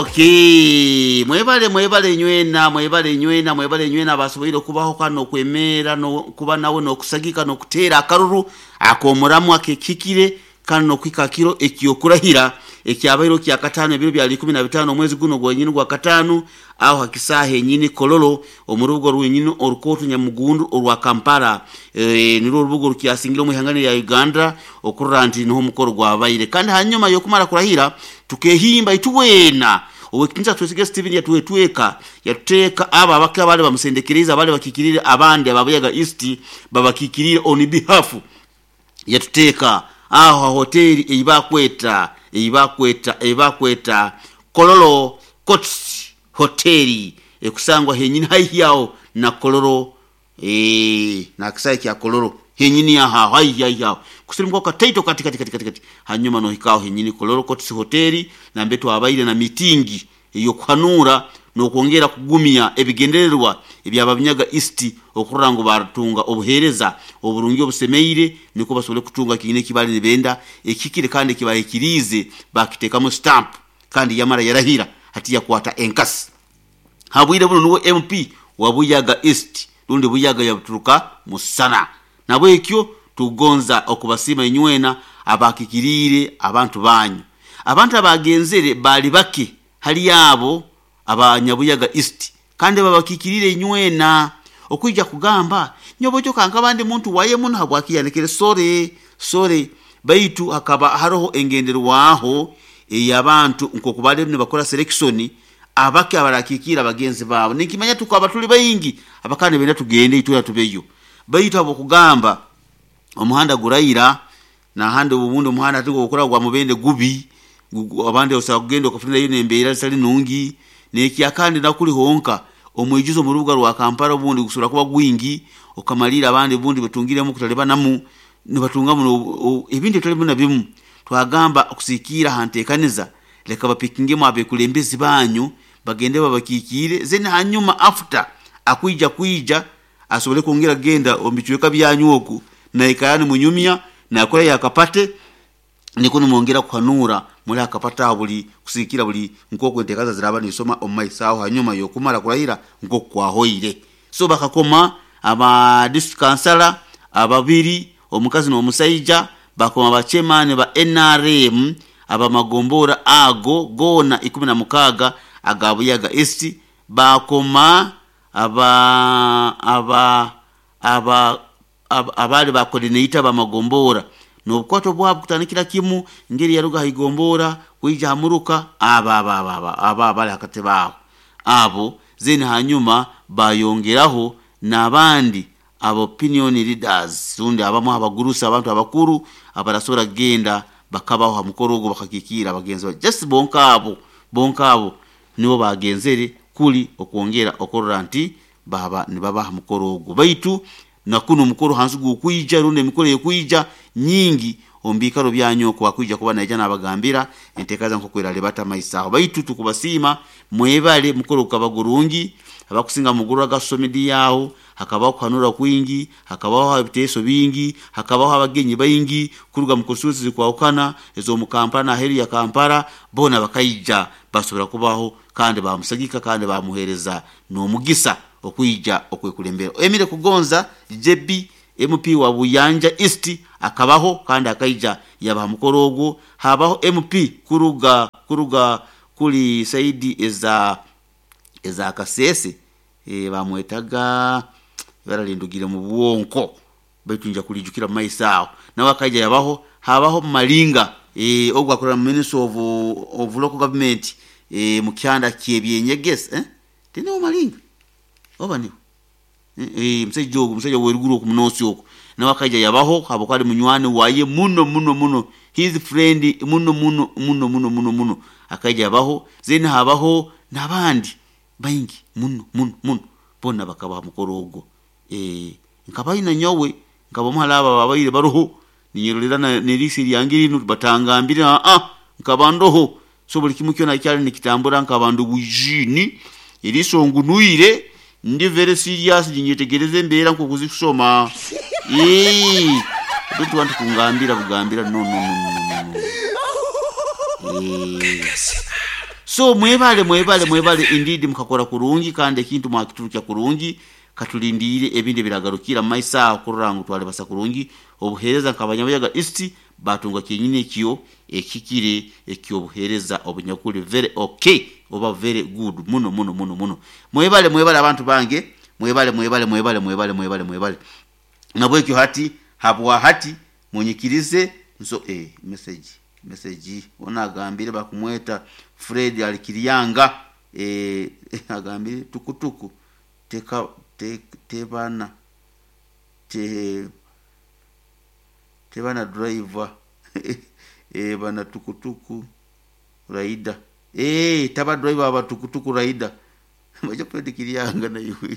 Okay, mwebale mwebale nywena, mwebale nywena, mwebale nywena abasoboire okubaho kandi n'okwemeera n'okuba nawe n'okusagika n'okuteera akaruru ak'omuramu akekikire kandi n'okuhika kiro ekyokurahira ekyabaire kyakataano ebiro byali 15 omwezi guno gwenyini gwa kataano aho hakisaaha enyini Kololo omu rubuga rwenyini orukooto Nyamugundu orwa Kampala. Nirwo orubuga orukyasingire omu ihanga lya Uganda okurora nti niho omukoro gwabaire. Kandi hanyuma y'okumara kurahira tukehimba itwena Owekitinisa Twesige Steven yatwetweka yatuteeka abo abake abaali bamusendekeriize abaali bakiikiriire abandi aba Buyaga East babakikiriire on behalf yatuteeka aho ha hoteri ei bakweta ei bakweta ei bakweta Kololo Courts Hoteri ekusangwa henyini haihi aho na Kololo n'akisaayi kya Kololo henyini aho aho haihi haihi aho kusirimukaho kataito kati kati kati kati kati hanyuma nohika aho henyini Kololo Courts Hoteri nambere twabaire na mitingi ey'okuhanuura n'okwongera kugumya ebigendererwa eby'Ababunyaga East okurora ngu baatunga obuheereza oburungi obusemeire nukwo basobole kutunga kiine eki baali nibenda ekihikire kandi eki baahikiriize baakiteekamu stamp kandi yamara yarahira hati yakwata enkasi. Ha bwire bunu nuwe MP wa Buyaga East rundi Buyaga yabuturuka musana. Nabwekyo tukugonza okubasiima inywena abaakikiriire abantu banyu. Abantu abaagenzere baali bake hali abo Abanyabuyaga East kandi babakikiriire inywena okwija kugamba nyowe kankaba ndi muntu waye muno habwaki yanekere sore sore baitu hakaba haroho engenderwaho ey'abantu nk'oku baali nibakora selection abake abarakikiira bagenzi baabo. Ninkimanya tukaba tuli baingi abakaba nibenda tugende itwena tubeyo, baitu habw'okugamba omuhanda guraira nahandi obundi omuhanda hati ogukura gwa Mubende gubi, abandi osobola kugenda okafunirayo n'embeera zitali nungi. N'ekyakandi nakuli honka omwijuzo omu rubuga rwa Kampala obundi gusobora kuba gwingi okamalirra abandi obundi batungiremu okutalibanamu nibatungamu ebintu ebitali bimu na bimu. Twagamba okusigiikirra ha nteekaniza leka bapikingemu abekulembezi banyu bagende babakiikiire then hanyuma after akwija kwija asobole kwongera kugenda omu bicweka byanyu oku naikara nimunyumya nakorayo akapate nikwo nimwongera kuhanuura muli akapate aho buli kusigiikirra buli nk'oku enteekaniza ziraaba nizisoma omu maiso aho hanyuma y'okumara kurahira nk'oku kwahoire. So bakakoma aba district kansala ababiri omukazi n'omusaija, bakoma ba chairman ba nrm ab'amagombora ago goona 16 aga Buyaga East, baakoma aba aba aba abaali ba coordinator b'amagombora n'obukwato bwabo kutandikira kimu ngeri yaruga ha igombora kwija ha muruka abo abo abo abo abo abali ha katebe aho abo then hanyuma bayongeraho n'abandi aba opinion leaders rundi abamu abagurusi abantu abakuru abarasobora kugenda bakabaho ha mukoro ogwo bakakiikirra bagenzi babo just bonka abo bonka abo nibo baagenzere kuli okwongera okurora nti baaba nibaba ha mukoro ogwo. Baitu na kunu omukoro hansi gukwija rundi emikoro ekwija nyingi omu biikaro byanyu oku akwija kuba naija nabagambira enteekaniza nk'oku eralibata maiso aho. Baitu tukubasiima mwebale mukoro gukaba gurungi, abakusinga mugurora social media aho, hakabaho okuhanura kwingi, hakabaho ebiteeso bingi, hakabaho abagenyi baingi kuruga mu constituency ezikwahukana ez'omu Kampala n'aheeru ya Kampala, boona bakaija basobora kubaho kandi baamusagika kandi baamuheereza n'omugisa okwija okwekulembera. Emile Kugonza JB MP wa Buyanja East akabaho kandi akaija yaba ha mukoro ogwo. Habaho MP kuruga kuruga kuli saidi eza eza Kasese bamwetaga ibara lindugire mu bwonko baitu nja kulijukira mu maiso aho, nawe akaija yabaho. Habaho Malinga ogu akorera mu Ministry of, of Local Government mu kyanda ky'ebyenyegesa, tiniwe Malinga oba niwe? Omusaija ogu omusaija ow'eruguru oku Munoosi oku nawe akaija yabaho habwokuba ali munywani waye muno muno muno, his friend muno muno muno muno muno muno, akaija yabaho. Then habaho n'abandi baingi muno muno muno boona bakaba ha mukoro ogwo. Nkabayo na nyowe nkaba omu hali abo ababaire baroho ninyerolera n'eriiso eryange linu batangambire aa nkaba ndoho. So buli kimu kyona ekyali nikitambura nkaba ndi bwijiini, eriiso ngunwire, ndi very serious ninyetegereza embeera nk'oku zikusoma. Don't want kungambira bugambira no no no no no no. So mwebale mwebale mwebale indeed, mukakora kurungi kandi ekintu mwakiturukya kurungi. Katulindire ebindi biragarukira mumaiso aho kurora ngu twalibasa kurungi obuheereza nk'abanyabuyaga East batunga kyenyini ekyo ekikire ekyobuheereza obunyakuli very okay oba very good muno muno muno muno. Mwebale mwebale abantu bange, mwebale mwebale mwebale mwebale mwebale mwebale. Nabwekyo hati habwa hati munyikirize nso message message ona agambire bakumweta Fred Alikirianga agambire tukutuku teka te, tebana te, tebana driver bana tukutuku raida taba driver aba tukutuku raida maja Fred Kirianga na iwe.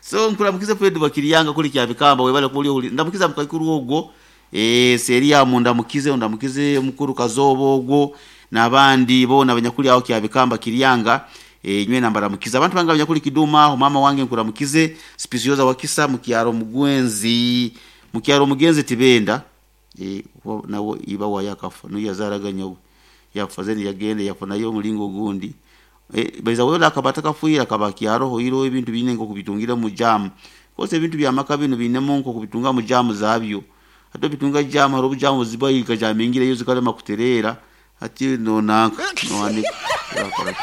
So nkuramukiza Fred wa Kirianga kuli kya bikamba webale kuli uli ndamukiza mukakuru ogwo seria mundamukize ndamukize mukuru Kazobo ogwo nabandi bona abanyakuli aho kya bikamba Kirianga. Nywe nambaramukiza abantu banga abanyakuli Kiduma aho mama wange nkuramukize Spisioza wakisa mukyaro mugwenzi mukyaro mugenzi tibenda nawo iba wa yakafa no yazaraganya yafa zeni yagende yafa nayo mulingo gundi baiza wewe akabata kafuira kabakyaro hiro ebintu bine ngo kubitungira mu jam kose ebintu bya maka bino binemo ngo kubitunga mu jam zabyo ato bitunga jam haro jam zibayi kajamingira yo zikale makuterera ati no nanka no anika yakora.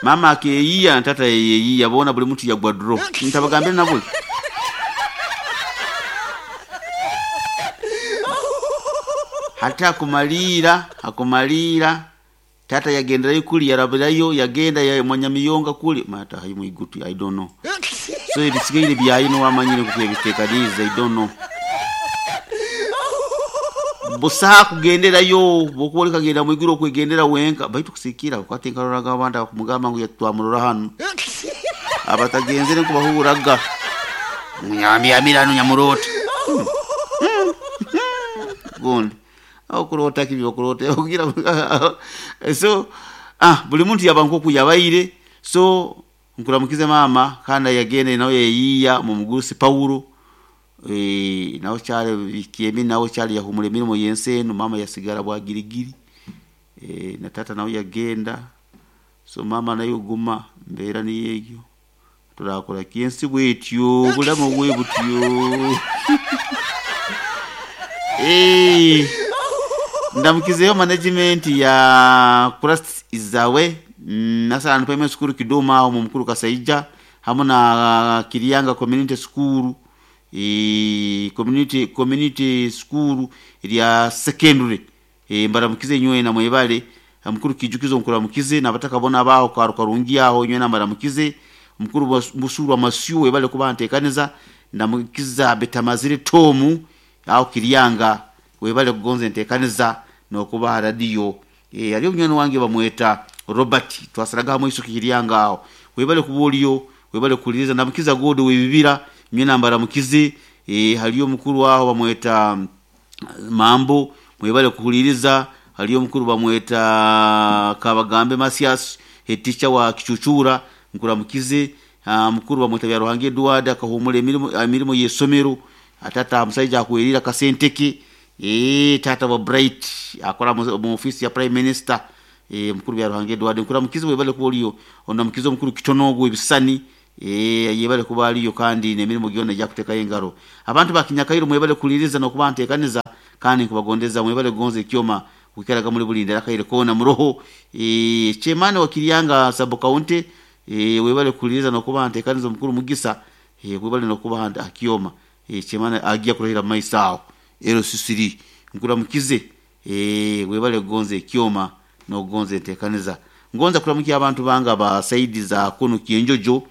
Mama akeyiya tata yeyiya bona buli muntu yagwa draw ntabagambire nabwe hata akumalira tata yagenderayo kuli yarabirayo yagenda ya mwanyamiyonga kuli mata hayi muigutu I don't know. So ebisigaire byayino wamanyire kubyebiteekaniza I don't know. Busaha kugenderayo bokuba kagenda mwiguru okwegendera wenka baitu kusikira kwate nkaroraga abandi akumugamba ngu yatwamurora hano abatagenzere nkubahuraga munyambiamirano nyamurota gundi okurota kibyo okurota kugira so buli muntu yaba nkoku yabaire. So nkuramukize mama kana yagende nawe yeyiya mu mugurusi Paulo nawo cyale kiemi nawo cyale yahumura emirimo yenseno mama yasigara bwagirigiri na tata nawe yagenda. So mama nayo guma mbera niyeyo turakora kiensi bwetyo bulamo bwe butyo ndamukizeyo management ya Christ Izawe nasana primary school Kiduma aho mu mukuru Kasaija hamwe na Kirianga community school community school lya secondary mbaramukize nywe na mwebale mukuru Kijukizo nkuramukize nabataka bona baho karukarungi aho nywe na mbaramukize mukuru Busuru Amasiu webale kubantekaniza ndamukiza Betamazire Tomu aho Kirianga webale kugonze ntekaniza nokuba radio aliyo mnyano wange bamweta Robert twasaraga hamwe iso Kirianga aho webale kubuliyo webale kuliriza ndamukiza godo webibira mwe nambara mukize haliyo mukuru waho bamweta Mambo mwebale kuhuliriza haliyo mukuru bamweta Kabagambe Masias head wa Kichuchura nkuramukize mukuru bamweta bya Ruhange Edward akahumura emirimo yesomero atata musaija akuwerira kasenteke tata wa Bright akora mu office ya Prime Minister mukuru bya Ruhange Edward nkuramukize webale kubuliyo ondamukize mukuru Kitonogo ebisani yebale kuba aliyo kandi nemirimo gyona jakuteka engaro abantu bakinyakairo mwebale kuliriza no kubantekaniza kandi kubagondeza mwebale gonze ekyoma kukeraga muri bulindera kaire kona muroho chemane wa Kirianga sub county webale kuliriza no kubantekaniza mukuru Mugisa webale no kubahanda akioma chemane agiya kurahira maisao ero sisiri nkura mukize webale gonze ekyoma no gonze tekaniza ngonza kuramukia abantu banga ba saidi za kuno Kienjojo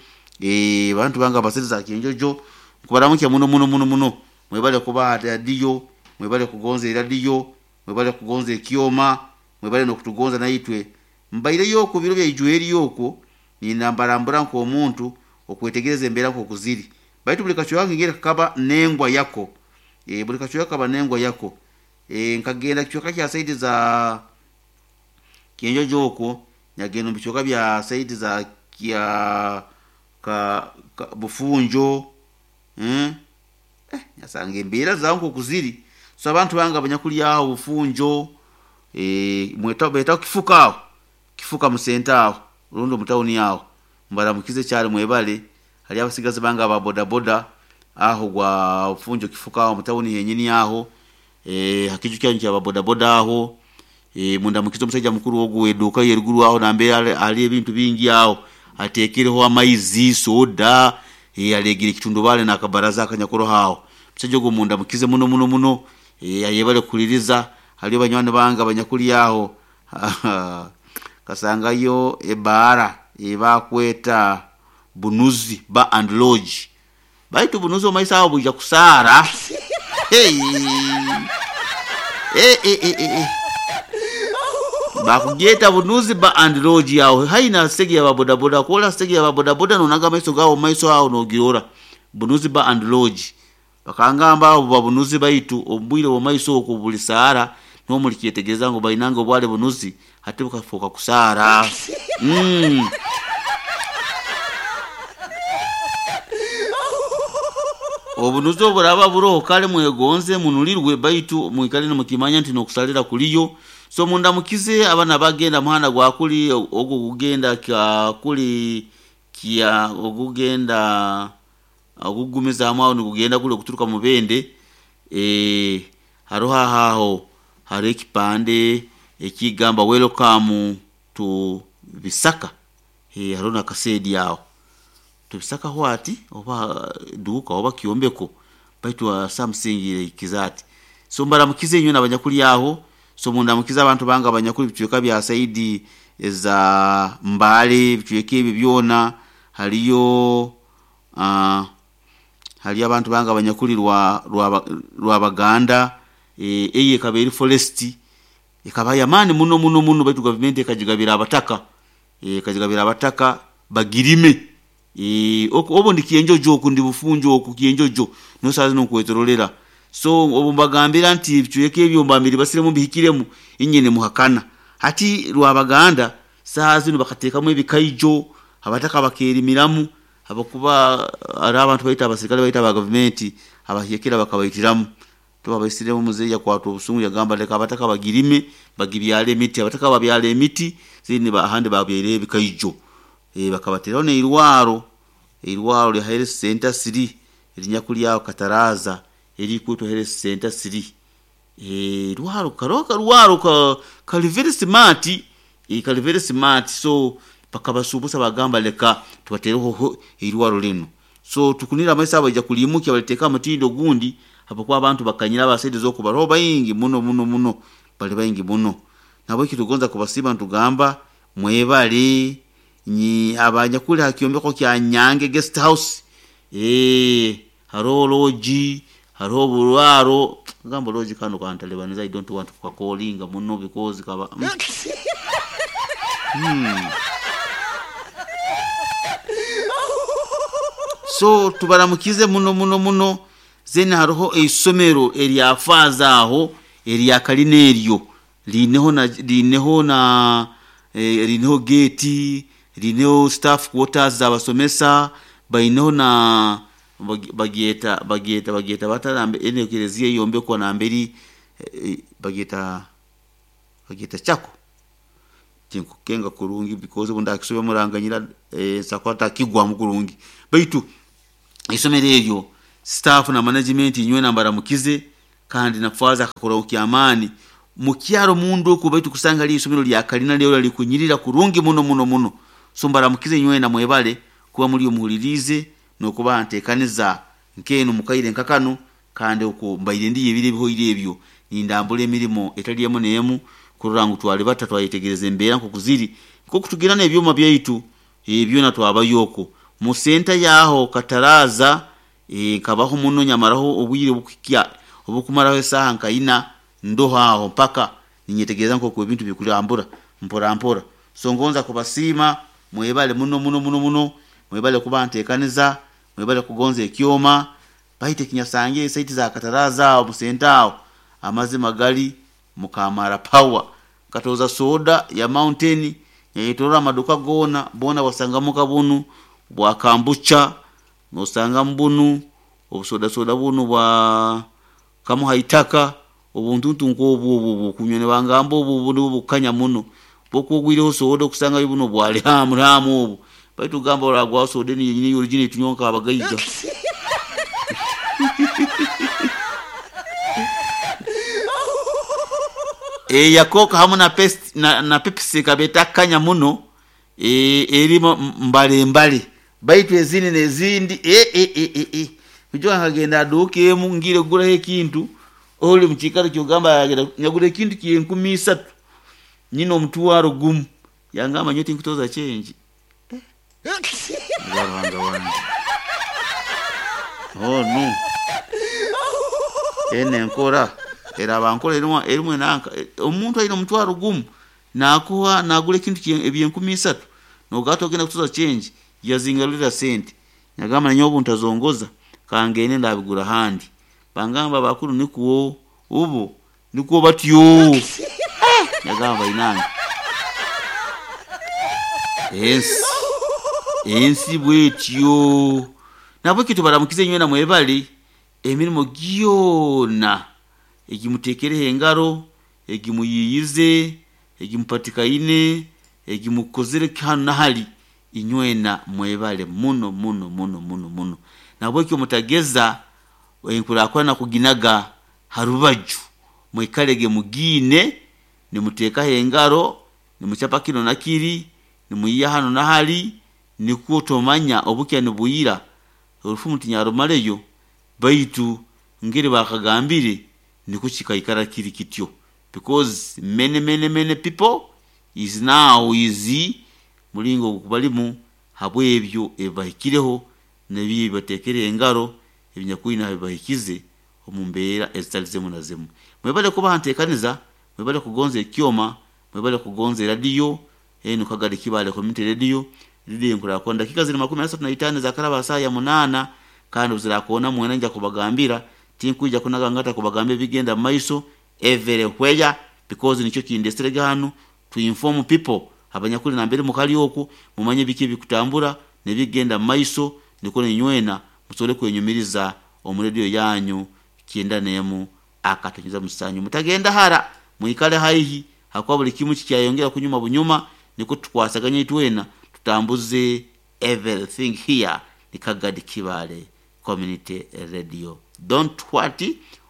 bantu banga ba saidi za Kienjojo kubaramukia muno muno muno muno mwebale kuba radio mwebale kugonza radio mwebale kugonza ekyoma mwebale no kutugonza na itwe mbaire yoko biro bya ijueri yoko ni nambarambura nko omuntu okwetegereza embera nko kuziri baitu buli kacho yange ngere kaba nengwa yako buli kacho yakaba nengwa yako nkagenda kichoka kya saidi za Kienjojo oko nyagenda mu bichoka bya saidi za kya ka Bufunjo nyasanga embera zangu kuziri. So abantu bange abanyakuli aho Bufunjo, betaho Kifuka aho, Kifuka musenta aho rundi omu tawuni aho, mbaramukize kyali mwebale. Hali abasigazi bange aba bodaboda aho gwa Bufunjo Kifuka aho mu tawuni yenyini aho, hakiju kyanyu kya bodaboda aho, mundamukize omusajja mukuru ogu w'eduuka yeruguru aho nambere ali ebintu bingi aho, ateekereho amaizi, soda, alegere ekitundubale n'akabaraza akanyakoroho aho. Omusajja ogu mundamukize muno muno muno, ayebale kuhuliriza. Haliyo banywani bange abanyakuli aho kasangayo ebaara ebakweta Bunuzi Bar and Lodge, baitu Bunuzi omu maiso aho bwija kusaara. Hey! Bakugyeta Bunuzi Bar and Lodge aho haihi na stage ya bodaboda, kwola stage ya bodaboda nonaga amaiso gawe omu maiso aho nogirora Bunuzi Bar and Lodge. Bakangamba abo babunuzi baitu omu bwire bw'omu maiso okwo buli saara niho mulikyetegereza ngu bainange obwali bunuzi hati bukafooka kusaara. Obunuzi oburaba buroho kale mwegonze munulirwe, baitu mwikale nimukimanya nti n'okusalira kuliyo. So mundamukize abana bagenda muhanda gwa kuli ogu gugenda kuli kya ogugenda ogugumizaamu aho nigugenda guli okuturuka Mubende, haroho aho hariho ekipande ekigamba welcome to Bisaka, hariho n'akaseedi aho. To Bisaka what oba duuka oba kyombeko, baitu something like that. So mbaramukize inywe abanyakuli aho, so mundamukize abantu bange abanyakuli ebicweka bya saidi eza Mbale, ebicweka ebi byona, haliyo haliyo abantu bange abanyakuli Rwabaganda, eyo ekaba eri forest, ekaba y'amaani muno muno muno, baitu gavumenti ekagigabira abataka, ekagigabira abataka bagirime. Obu ndi Kyenjojo oku ndi Bufunjo oku Kyenjojo niho saaha zinu nkwetorolera. So obu mbagambira nti ebicweka ebyo mba mbiribasiremu mbihikiremu, inywe nimuhakana. Hati Rwabaganda saaha zinu bakateekamu ebikaijo, abataka bakeerimiramu habwokuba hariho abantu baitu abasirikale baitu aba gavumenti abahyekera bakabaitiramu. Tibabaisiremu muzeeyi yakwatwa obusungu yagamba leka abataka bagirime bagibyale emiti. Abataka babyala emiti then ahandi babyaireho ebikaijo. Bakabateraho n'eirwaro, eirwaro lya Health Center 3 erinyakuli aho Kataraza erikwetwa Health Center 3. Eirwaro karoho akarwaro kali very smart, kali very smart, so bakabasuubusa bagamba leka tubatereho eirwaro linu. So tukunire amaiso abo baija kuliimukya baliteeke ha mutindo ogundi habwokuba abantu bakanyire aba saidi z'oku baroho baingi muno muno muno, bali baingi muno. Nahabweki tugonza kubasiima nitugamba mwebale abanyakuli ha kyombeko kya Nyange Guest House, haroho lodge, haroho oburwaro, gamba lodge kanu kantalibaniza I don't want kukakolinga muno because kaba So tubaramukize muno muno muno. Then haroho eisomero erya faaza aho erya kalina eryo riineho na riineho na riineho geeti, riineho staff quarters z'abasomesa, baineho na bagyeta bagyeta bagyeta bata enu ekereziya eyombekwa namberi bagyeta bagyeta chako, tinkukenga kurungi because obu ndakisobya muranganyira, nsobola kuba ntakigwamu kurungi, baitu eisomero eryo staff na management inywena mbaramukize, kandi na faaza akakora kyamaani mukyaro munda oku, baitu kusanga haliyo isomero lya kalina lyona likunyirira kurungi muno muno muno. So mbaramukize inywena mwebale kuba muri omuhuliriize n'okuba nteekaniza nk'enu mukaire nka kanu, kandi oku mbaire ndiyo ebiro ebihoire ebyo nindambura emirimo etali emu n'emu kurora ngu twalibata twayetegereza embeera nk'oku ziri, nk'oku tugenda n'ebyoma byaitu byona twabayo oku. Mu senta yaho Kataraza, nkabaho muno nyamaraho obwire obukuhikya obukumaraho esaaha nka ina ndoho aho mpaka ninyetegereza nk'oku ebintu bikurambura mpora mpora. So ngonza kubasiima mwebale muno muno muno muno, mwebale kuba nteekaniza, mwebale kugonza ekyoma, baitu ekinyasangire saidi za Kataraza aho mu senta aho, amazima gali mukamara power. Nkatooza soda ya Mountain nyayetorora amaduka goona, boona wasangamu bunu bwa kambucha, nosangamu bunu obusoda soda bunu bwa kamuha itaka. Obuntuntu nk'obwo obwo obw'okunywa nibangamba obwo obu nubwo bukukanya muno. Obu ogwireho soda okusangayo buno bwa liramu ramu obu. Baitu gamba oragwaho soda enu yenyini ey'original eitunywa nk'abagaiga. Eya Coke hamu na Pepsi na Pepsi ekaba etakukanya muno, erimu mbale mbale. Baitu ezindi n'ezindi eh. Kwijuka nkagenda ha duuka emu ngiire kuguraho ekintu, oli omu kiikaro ky'ogamba yagenda nyagura ekintu ky'enkumi isatu nyine omutwaro gumu, yangamba nyowe tinkutoza change. Nga Ruhanga wange. Onu enu enkora eraba nkora erimu erimu enanka omuntu aine omutwaro gumu nakuha nagura ekintu eby'enkumi isatu nogamba togenda kutoza change, yazingarulira sente. Nagamba nanyowe obu ntazongoza kangende ndabigura ahandi. Bangamba abakuru nikwo ubo nikwo batyo. Nagamba bainange ensi ensi bwetyo. Nahabweki tubaramukize inywena mwebale emirimo gyona egimuteekereho engaro, egimuyiiyize, egimupatikaine, egimukozere hanu na hali, inywena mwebale muno muno muno muno muno. Nahabweki mutageza enkurakurana kuginaga ha rubaju, mwikalege mugiine nimuteekaho engaro, nimucapa kinu na kiri, nimuyiiya hanu na hali, nikwo tomanya obukya nibwira, orufumu tinyarumaleyo baitu ngeri baakagambire nikwo kikaikara kiri kityo because many many many people is now is mulingo ogu balimu habw'ebyo ebibahikireho n'ebi ebibateekere engaro ebinyakwine ha bibahikize omu mbeera ezitali zimu na zimu. Mwebale kuba ha nteekaniza, mwebale kugonza ekyoma, mwebale kugonza eradiyo, enu Kagadi Kibaale Community Radio, rediyo enkurakurana. Dakiika ziri 35 ezakaraba ha saaha ya munaana, kandi obu zirakoona mwena nja kubagambira, tinkwija kunaga ngata kubagambira ebigenda mu maiso everywhere because nikyo kindeserege hanu to inform people abanyakuli nambere mukali okwo mumanye biki ebikutambura n'ebikugenda mu maiso nikwo nainywena musobole kwenyumiriza omu rediyo yanyu 91.7. Mutagenda hara, mwikale haihi hakuba buli kimu kikyayongera kunyuma bunyuma nikwo tukwasaganye itwena tutambuze everything here ni Kagadi Kibaale Community Radio. Don't what?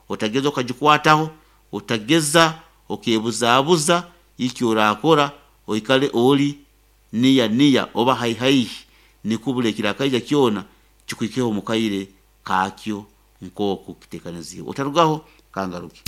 Otageza okagikwataho, otageza okebuzabuza iki orakora, oikale ori niya niya oba haihi haihi nikwo buli ekirakaija kyona kikuhikeho omu kaire kakyo nk'oku kiteekaniziibwe. Otarugaho, kangaruke.